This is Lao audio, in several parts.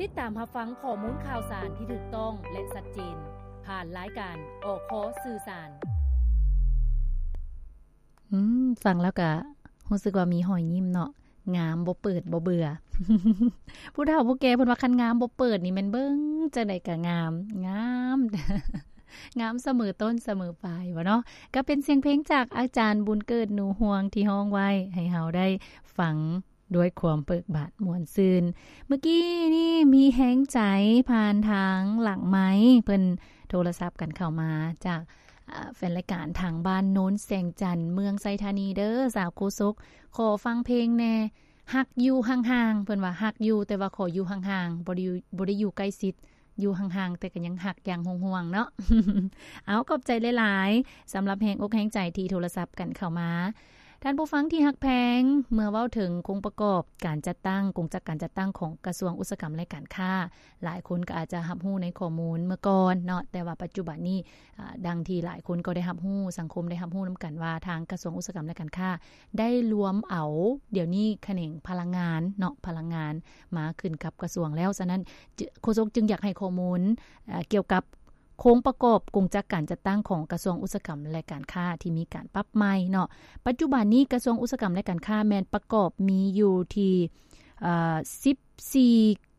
ຕິດຕາມຮັບຟັງຂໍ້ມູນຂ່າວສານທີ່ຖືກຕ້ອງ ແລະ ຊັດເຈນ ຜ່ານລາຍການ ອຄ ສື່ສານ. ອືມ ຟັງແລ້ວກະຮູ້ສຶກວ່າມີຮອຍຍິ້ມເນາະ. ງາມບໍ່ເປີດບໍ່ເບື່ອ. ຜູ້ເຖົ້າຜູ້ແກ່ເພິ່ນວ່າ ຄັນງາມບໍ່ເປີດນີ້ແມ່ນເບິ່ງຈັ່ງໃດກະງາມ, ງາມ, ງາມສະເໝີຕົ້ນສະເໝີປາຍ ວ່າເນາະ. ກໍເປັນສຽງເພງຈາກອາຈານບຸນເກີດ ໜູຮວງ ທີ່ຮ້ອງໄວ້ໃຫ້ເຮົາໄດ້ຟັງ ດ້ວຍຄວາມເບີກບານມ່ວນຊື່ນ. ເມື່ອກີ້ນີ້ມີແຮງໃຈຜ່ານທາງຫຼັງໄມ ເພິ່ນໂທລະສັບກັນເຂົ້າມາຈາກ ອາ ແຟນລາຍການທາງບ້ານໂນນແສງຈັນ ເມືອງໄຊທານີເດີ້ ສາວໂຄສົກ ຂໍຟັງເພງແດ່ ຮັກຢູ່ຫ່າງໆ. ເພິ່ນວ່າຮັກຢູ່ ແຕ່ວ່າຂໍຢູ່ຫ່າງໆ ບໍ່ໄດ້ຢູ່ ບໍ່ໄດ້ຢູ່ໃກ້ຊິດ ຢູ່ຫ່າງໆ ແຕ່ກໍຍັງຮັກຢ່າງຫ່ວງໆເນາະ. ເອົາ ຂອບໃຈຫຼາຍໆ ສຳລັບແຮງອົກແຮງໃຈທີ່ໂທລະສັບກັນເຂົ້າມາ. ທ່ານຜູ້ຟັງທີ່ຮັກແພງ, ເມື່ອເວົ້າເຖິງໂຄງປະກອບການຈັດຕັ້ງ ກົງຈັກການຈັດຕັ້ງຂອງກະຊວງອຸດສາຫະກຳ ແລະ ການຄ້າ, ຫຼາຍຄົນກໍອາດຈະຮັບຮູ້ໃນຂໍ້ມູນເມື່ອກ່ອນເນາະ, ແຕ່ວ່າປັດຈຸບັນນີ້ ອາ ດັ່ງທີ່ຫຼາຍຄົນກໍໄດ້ຮັບຮູ້, ສັງຄົມໄດ້ຮັບຮູ້ນຳກັນວ່າ ທາງກະຊວງອຸດສາຫະກຳ ແລະ ການຄ້າ ໄດ້ລວມເອົາ ດຽວນີ້ຂະແໜງພະລັງງານເນາະ, ພະລັງງານມາຂຶ້ນກັບກະຊວງແລ້ວ. ສະນັ້ນ ໂຄສົກຈຶ່ງຢາກໃຫ້ຂໍ້ມູນ ອາ ກ່ຽວກັບໂຄງປະກອບກົງຈັກການຈັດຕັ້ງຂອງກະຊວງອຸດສາຫະກຳ ແລະ ການຄ້າ ທີ່ມີການປັບໃໝ່ເນາະ. ປັດຈຸບັນນີ້ກະຊວງອຸດສາຫະກຳ ແລະ ການຄ້າ ແມ່ນປະກອບມີຢູ່ທີ່ ອາ ສິບສີ່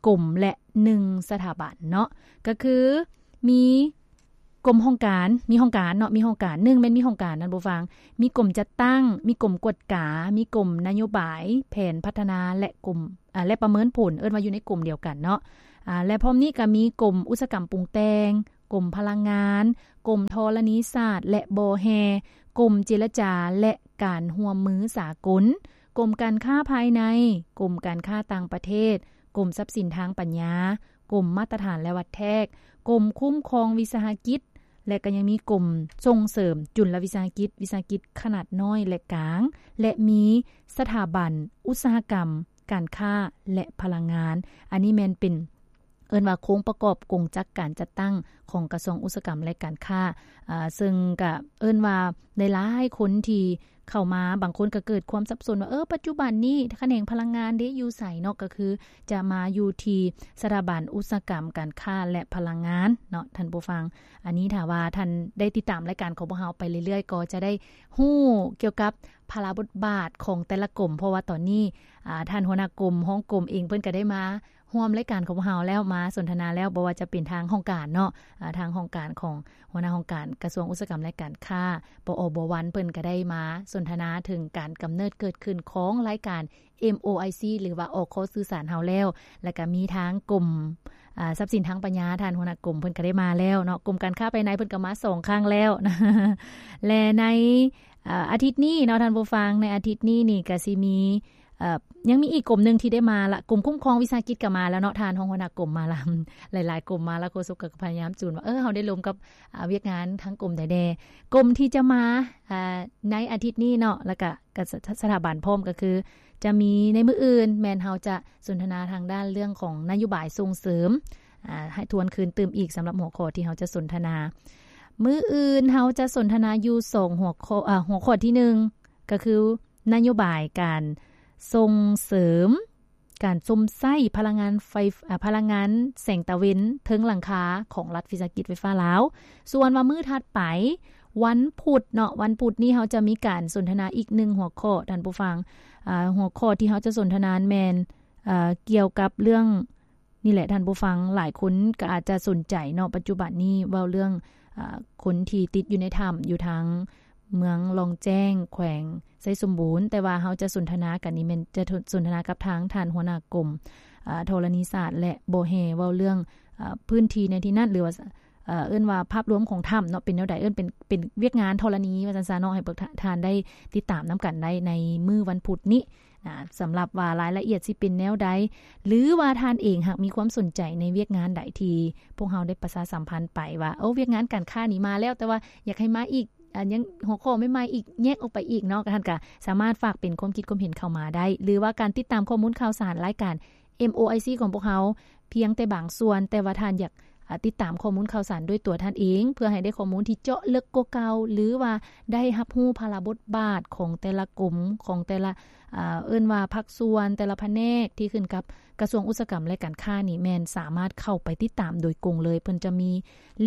ກົມ ແລະ ໜຶ່ງສະຖາບັນເນາະ, ກໍຄືມີກົມຫ້ອງການ, ມີຫ້ອງການເນາະ, ມີຫ້ອງການ, ໜຶ່ງ ແມ່ນມີຫ້ອງການ ທ່ານຜູ້ຟັງ, ມີກົມຈັດຕັ້ງ, ມີກົມກວດກາ, ມີກົມນະໂຍບາຍ, ແຜນພັດທະນາ ແລະ ກົມ ອາ ແລະ ປະເມີນຜົນ, ເອີ້ນວ່າຢູ່ໃນກົມດຽວກັນເນາະ. ອາ ແລະ ພ້ອມນີ້ກໍມີກົມອຸດສາຫະກຳປຸງແຕ່ງ, ກົມພະລັງງານ, ກົມທໍລະນີສາດ ແລະ ບໍ່ແຮ່, ກົມເຈລະຈາ ແລະ ການຮ່ວມມືສາກົນ, ກົມການຄ້າພາຍໃນ, ກົມການຄ້າຕ່າງປະເທດ, ກົມຊັບສິນທາງປັນຍາ, ກົມມາດຕະຖານ ແລະ ວັດແທກ, ກົມຄຸ້ມຄອງວິສາຫະກິດ ແລະ ກໍຍັງມີກົມສົ່ງເສີມຈຸນລະວິສາຫະກິດ, ວິສາຫະກິດຂະໜາດນ້ອຍ ແລະ ກາງ ແລະ ມີສະຖາບັນອຸດສາຫະກຳ, ການຄ້າ ແລະ ພະລັງງານ. ອັນນີ້ແມ່ນເປັນ ເອີ້ນວ່າໂຄງປະກອບກົງຈັກການຈັດຕັ້ງຂອງກະຊວງອຸດສາຫະກຳ ແລະ ການຄ້າ, ອາ ເຊິ່ງກະເອີ້ນວ່າຫຼາຍໆຄົນທີ່ເຂົ້າມາ ບາງຄົນກະເກີດຄວາມສັບສົນວ່າ ເອີ ປັດຈຸບັນນີ້ຂະແໜງພະລັງງານເດ ຢູ່ໃສເນາະ, ກະຄືຈະມາຢູ່ທີ່ສະຖາບັນອຸດສາຫະກຳ ການຄ້າ ແລະ ພະລັງງານເນາະ ທ່ານຜູ້ຟັງ. ອັນນີ້ຖ້າວ່າທ່ານໄດ້ຕິດຕາມລາຍການຂອງພວກເຮົາໄປເລື້ອຍໆ ກໍຈະໄດ້ຮູ້ກ່ຽວກັບພາລະບົດບາດຂອງແຕ່ລະກົມ, ເພາະວ່າຕອນນີ້ ອາ ທ່ານຫົວໜ້າກົມ, ຮອງກົມເອງ ເພິ່ນກະໄດ້ມາ ຮ່ວມລາຍການຂອງພວກເຮົາແລ້ວ, ມາສົນທະນາແລ້ວ, ບໍ່ວ່າຈະເປັນທາງຫ້ອງການເນາະ, ອາ ທາງຫ້ອງການຂອງຫົວໜ້າຫ້ອງການກະຊວງອຸດສາຫະກຳ ແລະ ການຄ້າ ປອ ບ ວັນ ເພິ່ນກະໄດ້ມາສົນທະນາເຖິງການກຳເນີດເກີດຂຶ້ນຂອງລາຍການ ເອັມ ໂອ ໄອ ຊີ ຫຼືວ່າ ອຄ ສື່ສານເຮົາແລ້ວ, ແລະ ກະມີທາງກົມ ອາ ຊັບສິນທາງປັນຍາ, ທ່ານຫົວໜ້າກົມເພິ່ນກະໄດ້ມາແລ້ວເນາະ, ກົມການຄ້າພາຍໃນເພິ່ນກະມາສອງຄັ້ງແລ້ວ ແລະ ໃນ ອາ ອາທິດນີ້ເນາະ ທ່ານຜູ້ຟັງ, ໃນອາທິດນີ້ນີ້ກະຊິມີ ເອີ ຍັງມີອີກກົມໜຶ່ງທີ່ໄດ້ມາລະ, ກົມຄຸ້ມຄອງວິສາຫະກິດກໍມາແລ້ວເນາະ, ທ່ານຮອງຫົວໜ້າກົມມາລະ, ຫຼາຍໆກົມມາລະ, ໂຄສົກກໍພະຍາຍາມຈູນວ່າ ເອີ ເຮົາໄດ້ລົມກັບ ອາ ວຽກງານທາງກົມໃດແດ່. ກົມທີ່ຈະມາ ອາ ໃນອາທິດນີ້ເນາະ ແລ້ວກະ ກະສະ ສະຖາບັນພ້ອມ ກໍຄືຈະມີໃນມື້ອື່ນ ແມ່ນເຮົາຈະສົນທະນາທາງດ້ານເລື່ອງຂອງນະໂຍບາຍສົ່ງເສີມ ອາ ໃຫ້ທວນຄືນຕື່ມອີກ ສຳລັບຫົວຂໍ້ທີ່ເຮົາຈະສົນທະນາ. ມື້ອື່ນເຮົາຈະສົນທະນາຢູ່ສອງຫົວຂໍ້, ອາ ຫົວຂໍ້ທີໜຶ່ງ ກໍຄື ນະໂຍບາຍການສົ່ງເສີມການຊົມໃຊ້ພະລັງງານໄຟ, ອາ ພະລັງງານແສງຕາເວັນເທິງຫຼັງຄາຂອງລັດວິສາຫະກິດໄຟຟ້າລາວ. ສ່ວນວ່າມື້ຖັດໄປ ວັນພຸດເນາະ, ວັນພຸດນີ້ເຮົາຈະມີການສົນທະນາອີກໜຶ່ງຫົວຂໍ້ ທ່ານຜູ້ຟັງ. ອາ ຫົວຂໍ້ທີ່ເຮົາຈະສົນທະນາແມ່ນ ເອີ ກ່ຽວກັບເລື່ອງ ນີ້ແຫຼະທ່ານຜູ້ຟັງ, ຫຼາຍຄົນກໍອາດຈະສົນໃຈເນາະ, ປັດຈຸບັນນີ້ເວົ້າເລື່ອງ ອາ ຄົນທີ່ຕິດຢູ່ໃນຖ້ຳ ຢູ່ທາງເມືອງລ່ອງແຈ້ງ ແຂວງໄຊສົມບູນ, ແຕ່ວ່າເຮົາຈະສົນທະນາກັນນີ້ແມ່ນຈະສົນທະນາກັບທາງທ່ານຫົວໜ້າກົມ ອາ ທໍລະນີສາດ ແລະ ບໍ່ແຮ່ ເວົ້າເລື່ອງ ອາ ພື້ນທີ່ໃນທີ່ນັ້ນ ຫຼືວ່າ ເອີ້ນວ່າພາບລວມຂອງຖ້ຳເນາະ ເປັນແນວໃດ, ເອີ້ນເປັນ ເປັນວຽກງານທໍລະນີວ່າຊັ້ນຊະເນາະ, ໃຫ້ພວກທ່ານໄດ້ຕິດຕາມນຳກັນໄດ້ໃນມື້ວັນພຸດນີ້. ນະ ສຳລັບວ່າລາຍລະອຽດຊິເປັນແນວໃດ ຫຼືວ່າທ່ານເອງຫາກມີຄວາມສົນໃຈໃນວຽກງານໃດທີ່ພວກເຮົາໄດ້ປະຊາສຳພັນໄປວ່າ ໂອ້ ວຽກງານການຄ້ານີ້ມາແລ້ວ ແຕ່ວ່າຢາກໃຫ້ມາອີກ ອາ ຍັງຫົວຂໍ້ໃໝ່ໆອີກ ແຍກອອກໄປອີກເນາະ, ທ່ານກະສາມາດຝາກເປັນຄວາມຄິດຄວາມເຫັນເຂົ້າມາໄດ້ ຫຼືວ່າການຕິດຕາມຂໍ້ມູນຂ່າວສານລາຍການ ເອັມ ໂອ ໄອ ຊີ ຂອງພວກເຮົາພຽງແຕ່ບາງສ່ວນ, ແຕ່ວ່າທ່ານຢາກ ອ່າ ຕິດຕາມຂໍ້ມູນຂ່າວສານດ້ວຍຕົວທ່ານເອງ ເພື່ອໃຫ້ໄດ້ຂໍ້ມູນທີ່ເຈາະເລິກກວ່າເກົ່າ ຫຼືວ່າໄດ້ຮັບຮູ້ພາລະບົດບາດຂອງແຕ່ລະກົມ ຂອງແຕ່ລະ ອ່າ ເອີ້ນວ່າພາກສ່ວນ ແຕ່ລະພະແນກທີ່ຂຶ້ນກັບກະຊວງອຸດສາຫະກຳ ແລະ ການຄ້ານີ້ ແມ່ນສາມາດເຂົ້າໄປຕິດຕາມໂດຍກົງເລີຍ. ເພິ່ນຈະມີ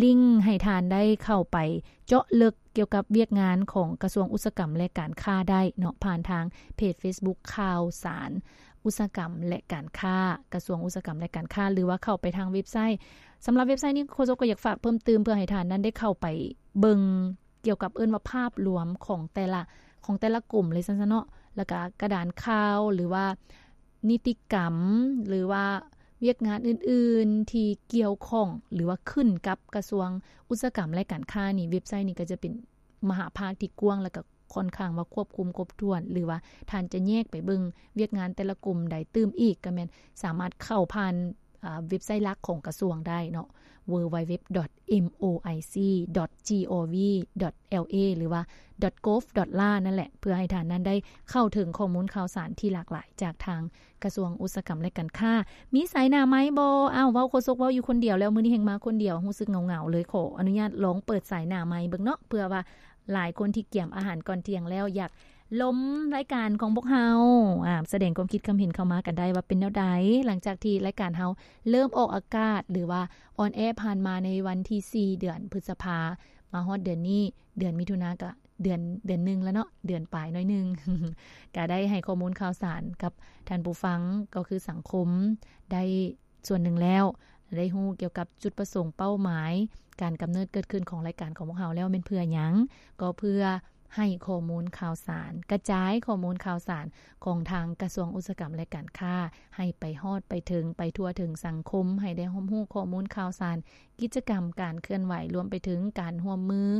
ລິງໃຫ້ທ່ານໄດ້ເຂົ້າໄປເຈາະເລິກກ່ຽວກັບວຽກງານຂອງກະຊວງອຸດສາຫະກຳ ແລະ ການຄ້າໄດ້ເນາະ ຜ່ານທາງເພຈເຟສບຸກຂ່າວສານອຸດສາຫະກຳ ແລະ ການຄ້າ ກະຊວງອຸດສາຫະກຳ ແລະ ການຄ້າ ຫຼືວ່າເຂົ້າໄປທາງເວັບໄຊ. ສຳລັບເວັບໄຊນີ້ ໂຄສົກກໍຢາກຝາກເພີ່ມຕື່ມ ເພື່ອໃຫ້ທ່ານນັ້ນໄດ້ເຂົ້າໄປເບິ່ງ ກ່ຽວກັບເອີ້ນວ່າພາບລວມຂອງແຕ່ລະ ຂອງແຕ່ລະກົມເລີຍຊັ້ນຊະເນາະ ແລ້ວກະກະດານຂ່າວ ຫຼືວ່ານິຕິກຳ ຫຼືວ່າວຽກງານອື່ນໆທີ່ກ່ຽວຂ້ອງ ຫຼືວ່າຂຶ້ນກັບກະຊວງອຸດສາຫະກຳ ແລະ ການຄ້ານີ້ ເວັບໄຊນີ້ກໍຈະເປັນມະຫາພາກທີ່ກວ້າງ ແລ້ວກະຄ່ອນຂ້າງວ່າຄວບຄຸມຄົບຖ້ວນ ຫຼືວ່າທ່ານຈະແຍກໄປເບິ່ງວຽກງານແຕ່ລະກົມໃດຕື່ມອີກ ກໍແມ່ນສາມາດເຂົ້າຜ່ານ ອ່າ ເວັບໄຊຫຼັກຂອງກະຊວງໄດ້ເນາະ www.moic.gov.la ຫຼືວ່າ .gov.la ນັ້ນແຫຼະ ເພື່ອໃຫ້ທ່ານນັ້ນໄດ້ເຂົ້າເຖິງຂໍ້ມູນຂ່າວສານທີ່ຫຼາກຫຼາຍຈາກທາງກະຊວງອຸດສາຫະກຳ ແລະ ການຄ້າ. ມີສາຍໜ້າໄມບໍ່? ອ້າວ ເວົ້າ ໂຄສົກເວົ້າຢູ່ຄົນດຽວແລ້ວ ມື້ນີ້ແຮ່ງມາຄົນດຽວ ຮູ້ສຶກເຫງົາໆເລີຍ. ຂໍອະນຸຍາດລອງເປີດສາຍໜ້າໄມເບິ່ງເນາະ ເພື່ອວ່າ ຫຼາຍຄົນທີ່ກຽມອາຫານກ່ອນທ່ຽງແລ້ວ ຢາກລົມລາຍການຂອງພວກເຮົາ ອາ ສະແດງຄວາມຄິດຄຳເຫັນເຂົ້າມາກັນໄດ້ວ່າເປັນແນວໃດ ຫຼັງຈາກທີ່ລາຍການເຮົາເລີ່ມອອກອາກາດ ຫຼືວ່າອອນແອຜ່ານມາໃນວັນທີສີ່ ເດືອນພຶດສະພາ ມາຮອດເດືອນນີ້ ເດືອນມິຖຸນາກະເດືອນ ເດືອນໜຶ່ງແລ້ວເນາະ ເດືອນປາຍໜ້ອຍໜຶ່ງ ກະໄດ້ໃຫ້ຂໍ້ມູນຂ່າວສານກັບທ່ານຜູ້ຟັງ ກໍຄືສັງຄົມ ໄດ້ ສ່ວນໜຶ່ງແລ້ວ ໄດ້ຮູ້ກ່ຽວກັບຈຸດປະສົງ ເປົ້າໝາຍ ການກຳເນີດເກີດຂຶ້ນຂອງລາຍການຂອງພວກເຮົາແລ້ວ ແມ່ນເພື່ອຫຍັງ? ກໍເພື່ອໃຫ້ຂໍ້ມູນຂ່າວສານ ກະຈາຍຂໍ້ມູນຂ່າວສານຂອງທາງກະຊວງອຸດສາຫະກຳ ແລະ ການຄ້າ ໃຫ້ໄປຮອດໄປເຖິງ ໄປທົ່ວເຖິງສັງຄົມ ໃຫ້ໄດ້ຮັບຮູ້ຂໍ້ມູນຂ່າວສານ ກິດຈະກຳ ການເຄື່ອນໄຫວ ລວມໄປເຖິງການຮ່ວມມື